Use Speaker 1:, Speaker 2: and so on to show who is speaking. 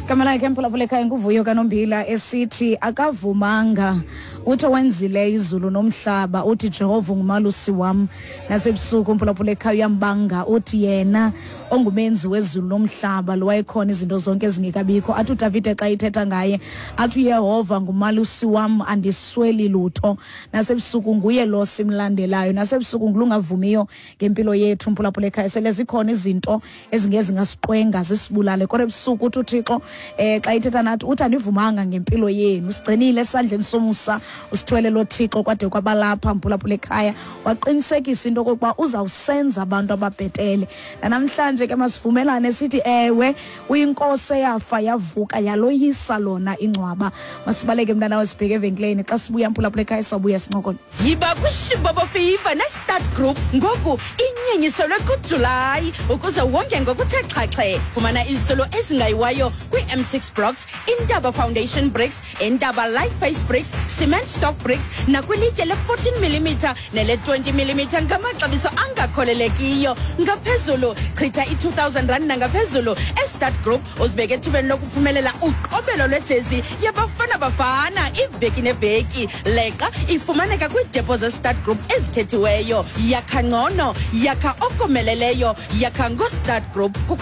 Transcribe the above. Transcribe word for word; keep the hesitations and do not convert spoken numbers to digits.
Speaker 1: Igama lakhe, mphulaphula ekhaya, nguVuyo kaNombila, esithi akavumanga. Uthi owenzileyo izulu nomhlaba, uthi Jehova ngumalusi wam. Nasebusuku, mphulaphula ekhaya, uyambanga, uthi yena ongumenzi wezulu nomhlaba, lo wayekhona izinto zonke ezingekabikho. Athi uDavide xa ithetha ngaye, athi uYehova ngumalusi wam, andisweli lutho. Nasebusuku nguye lo simlandelayo, nasebusuku ngulungavumiyo ngempilo yethu, mphulaphula ekhaya. Sele zikhona izinto ezingezingasiqwenga zisibulale, kodwa ebusuku uthi uThixo eh xa ithetha nathi, uthi andivumanga ngempilo yenu, sigcinile esandleni somusa, usithwele lo Thixo kwade kwabalapha, mphulaphula ekhaya. Waqinisekisa into okokuba uzawusenza abantu ababhetele. Nanamhlanje ke masivumelane sithi ewe, uyinkosi eyafa yavuka yaloyisa lona ingcwaba. Masibaleke, mntana, sibheke evenkileni. Xa sibuya, mphulaphula ekhaya, sawubuya sincokole.
Speaker 2: Yiba kwiShibobo Fever neStart Group ngoku inyenyiselwe kuJulayi ukuze wonke ngokuthe xhaxhe. Fumana izisolo ezingayiwayo kwii-M six blocks, Intaba Foundation bricks, Intaba Light Face bricks, cement stock bricks nakwilitye le-fourteen millimetre nele-twenty millimetre ngamaxabiso angakholelekiyo. Ngaphezulu, chitha i-two thousand rand nangaphezulu eStart Group, uzibeke ethubeni lokuphumelela uqobelo lwejezi yaBafana Bafana iveki neveki. Leqa ifumaneka kwiidepo zeStart Group ezikhethiweyo. Yakha ngcono, yakha okomeleleyo, yakha ngoStart Group. Kukho